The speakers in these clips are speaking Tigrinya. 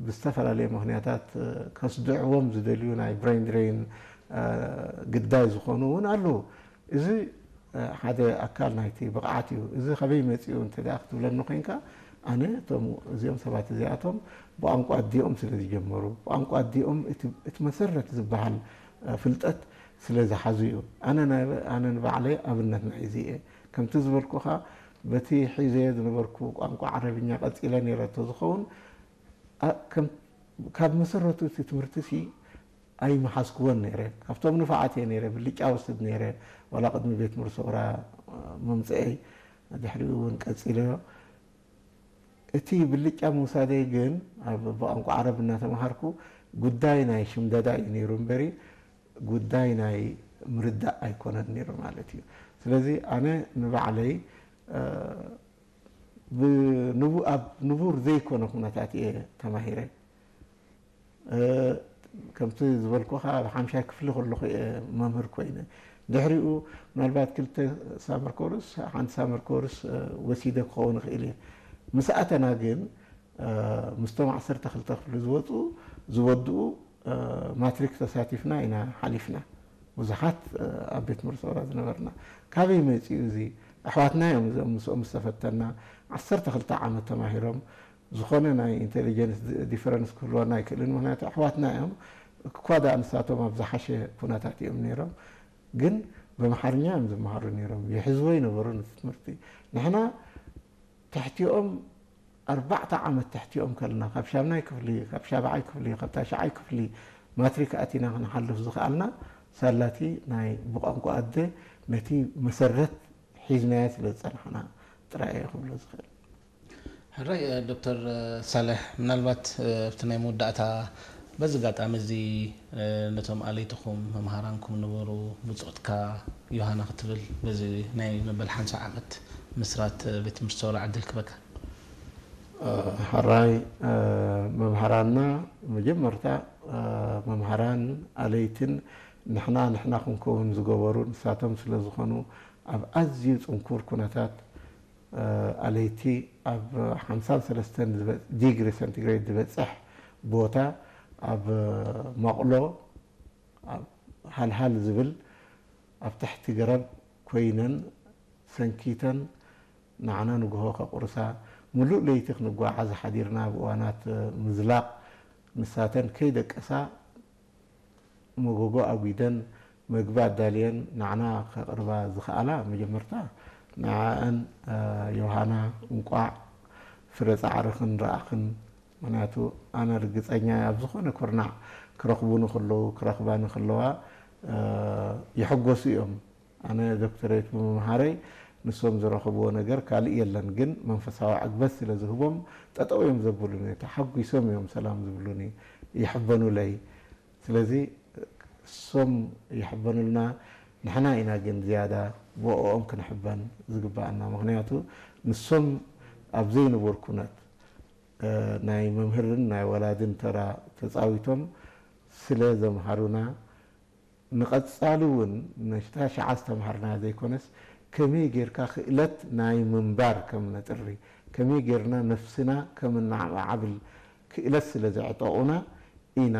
ብዝተፈላለየ ምኽንያታት ከስድዕዎም ዝደልዩ ናይ ብሬን ድሬን ግዳይ ዝኾኑ እውን ኣለዉ። እዚ ሓደ ኣካል ናይቲ ብቕዓት እዩ። እዚ ከበይ መፂኡ እንተ ደኣ ክትብለኒ ኮይንካ፣ ኣነ እቶም እዚኦም ሰባት እዚኣቶም ብቋንቋ ኣዲኦም ስለ ዝጀመሩ፣ ብቋንቋ ኣዲኦም እቲ መሰረት ዝበሃል ፍልጠት ስለ ዝሓዙ እዩ። ኣነ ንባዕለይ ኣብነት ናይ እዚ እየ። ከምቲ ዝበልኩኻ፣ በቲ ሒዘዮ ዝነበርኩ ቋንቋ ዓረብኛ ቀፂለ ነይረ እንተዝኸውን፣ ካብ መሰረቱ እቲ ትምህርቲ ሲ ኣይመሓዝክዎን ነይረ። ካብቶም ንፋዓት እየ ነይረ፣ ብልጫ ወስድ ነይረ፣ ዋላ ቅድሚ ቤት ምርሰውራ ምምፅአይ፣ ድሕሪኡ እውን ቀፂለዮ። እቲ ብልጫ ምውሳደይ ግን፣ ብቋንቋ ዓረብ እናተምሃርኩ፣ ጉዳይ ናይ ሽምደዳ እዩ ነይሩ እምበሪ፣ ጉዳይ ናይ ምርዳእ ኣይኮነን ነይሩ ማለት እዩ። ስለዚ ኣነ ንባዕለይ ኣብ ንቡር ዘይኮነ ኩነታት እየ ተማሂረ። ከምቲ ዝበልኩኻ፣ ኣብ ሓምሻይ ክፍሊ ከለኹ እየ መምህር ኮይነ። ድሕሪኡ ምናልባት ክልተ ሳመር ኮርስ፣ ሓንቲ ሳመር ኮርስ ወሲደ ክኸውን ይኽእል እየ። ምስ ኣተና ግን፣ ምስቶም ዓሰርተ ክልተ ክፍሊ ዝወፁ ዝወድኡ ማትሪክ ተሳቲፍና ኢና ሓሊፍና። ብዙሓት ኣብ ቤት ምርሰራ ዝነበርና፣ ካበይ መፂኡ እዚ? ኣሕዋትና እዮም እዚኦም ምስኦም ዝተፈተና። ዓሰርተ ክልተ ዓመት ተማሂሮም፣ ዝኾነ ናይ ኢንቴሊጀንስ ዲፈረንስ ክህልወና ኣይክእልን፣ ምክንያቱ ኣሕዋትና እዮም። እኳ ደኣ ንሳቶም ኣብ ዝሓሸ ኩነታት እዮም ነይሮም፣ ግን በምሓርኛ እዮም ዝመሃሩ ነይሮም። ይሕዝዎ ይነበሩ ነቲ ትምህርቲ። ንሕና ትሕቲኦም ኣርባዕተ ዓመት ትሕቲኦም ከለና፣ ካብ ሻምናይ ክፍሊ፣ ካብ ሻብዓይ ክፍሊ፣ ካብ ታሽዓይ ክፍሊ ማትሪክ ኣቲና ክንሓልፍ ዝኸኣልና፣ ሳላቲ ናይ ብቋንቋ ኣደ ነቲ መሰረት ሒዝናዮ ስለ ዝጸናሕና ጥራይ እየ ክብሎ ዝኽእል። ሕራይ፣ እ፣ ዶክተር፣ እ፣ ሳልሕ፣ ምናልባት፣ እ፣ ኣብቲ ናይ መወዳእታ በዚ ኣጋጣሚ እዚ፣ እ፣ ነቶም ኣለይትኹም መምሃራንኩም ነበሩ ብጾትካ ዮሃና ክትብል በዚ ናይ መበል ሓምሳ ዓመት ምስራት፣ እ፣ ቤት ትምህርቲ ሰውራ ዕድል ክበካ። እ፣ ሕራይ፣ እ፣ መምሃራንና መጀመርታ፣ እ፣ መምሃራን ኣለይትን ንሕና ንሕና ክንከውን ዝገበሩ ንሳቶም ስለ ዝኾኑ ኣብ ኣዝዩ ጽንኩር ኩነታት ኣለይቲ ኣብ ሓምሳን ሰለስተን ዲግሪ ሰንቲግሬድ ዝበፅሕ ቦታ ኣብ መቕሎ፣ ኣብ ሃልሃል ዝብል ኣብ ትሕቲ ገረብ ኮይነን ሰንኪተን ንዓና ንግሆ ከቑርሳ፣ ሙሉእ ለይቲ ክንጓዓዝ ሓዲርና። ኣብ እዋናት ምዝላቕ ንሳተን ከይደቀሳ መጎጎ ኣጒደን መግቢ ኣዳልየን ንዓና ከቕርባ ዝኸኣላ፣ መጀመርታ ንዓኣን፣ ዮሃና፣ እንቋዕ ፍረ ጻዕርኽን ረኣኽን። ምኽንያቱ ኣነ ርግጸኛ እየ፣ ኣብ ዝኾነ ኩርናዕ ክረኽቡኒ ከለዉ፣ ክረኽባኒ ከለዋ፣ ይሕጎሱ እዮም። ኣነ ዶክተሬት ብምምሃረይ ንሶም ዝረኸብዎ ነገር ካልእ የለን፣ ግን መንፈሳዊ ዕግበት ስለ ዝህቦም ጠጠው እዮም ዘብሉኒ፣ ተሓጒሶም እዮም ሰላም ዝብሉኒ፣ ይሕበኑለይ። ስለዚ እሶም ይሕበኑልና፣ ንሕና ኢና ግን ዝያዳ ብኦኦም ክንሕበን ዝግባኣና። ምኽንያቱ ንሶም ኣብ ዘይንቡር ኩነት፣ እ፣ ናይ መምህርን ናይ ወላድን ተራ ተጻዊቶም ስለ ዘምሃሩና፣ ንቐጻሊ እውን ነታ ሽዓ ዝተምሃርናያ ዘይኮነስ፣ ከመይ ጌርካ ክእለት ናይ ምንባር ከም ነጥሪ፣ ከመይ ጌርና ነፍስና ከም እናዓብል ክእለት ስለ ዘዕጠቑና ኢና።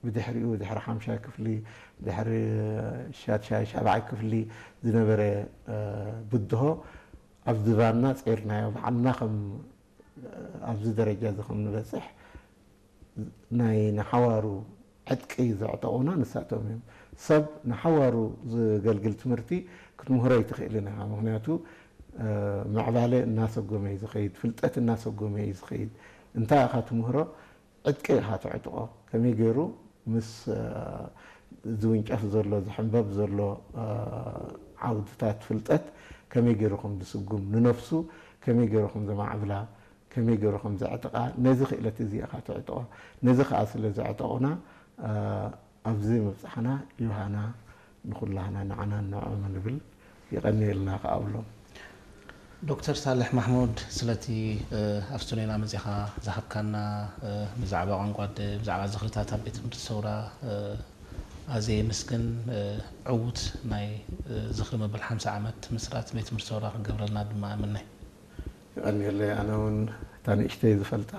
ብድሕሪኡ፣ ድሕሪ ሓምሻይ ክፍሊ፣ ድሕሪ ሻድሻይ፣ ሻብዓይ ክፍሊ ዝነበረ፣ እ፣ ብድሆ ኣብ ዝባንና ጸይርናዮ፣ ባዕልና ከም ኣብዚ ደረጃ እዚ ከም ንበጽሕ ናይ ንሓዋሩ ዕጥቂ ዘዕጠቑና ንሳቶም እዮም። ሰብ ንሓዋሩ ዘገልግል ትምህርቲ ክትምህሮ ኣይትኽእልን ኢኻ። ምኽንያቱ፣ እ፣ ምዕባለ እናሰጎመ እዩ ዝኸይድ፣ ፍልጠት እናሰጎመ እዩ ዝኸይድ። እንታይ ኢኻ ትምህሮ? ዕጥቂ ኢኻ ተዕጥቖ። ከመይ ገይሩ ምስ፣ እ፣ ዝውንጨፍ ዘሎ፣ ዝሕንበብ ዘሎ፣ እ፣ ዓውድታት ፍልጠት ከመይ ገይሩ ከም ዝስጉም፣ ንነፍሱ ከመይ ገይሩ ከም ዘማዕብላ፣ ከመይ ገይሩ ከም ዘዕጥቓ፣ ነዚ ክእለት እዚ ኢኻ ተዕጥቖ። ነዚ ከኣ ስለ ዘዕጠቑና፣ እ፣ ኣብዚ ምብጻሕና ዮሃና ንኹላህና ንዓናን ንዕኦምን ንብል። የቐንየልና ከኣ እብሎም። ዶክተር ሳልሕ ማሕሙድ፣ ስለቲ፣ እ፣ ኣብ ስቱድዮና መጺኻ ዝሃብካና፣ እ፣ ብዛዕባ ቋንቋ ኣደ፣ ብዛዕባ ዝኽርታት ኣብ ቤት ትምህርቲ ሰውራ፣ እ፣ ኣዝየ የመስግን። እ፣ ዕዉት ናይ፣ እ፣ ዝኽሪ መበል ሓምሳ ዓመት ምስራት ቤት ትምህርቲ ሰውራ ክገብረልና ድማ እምነ። የቐንየለይ። ኣነ እውን እታ ንእሽተይ ዝፈልጣ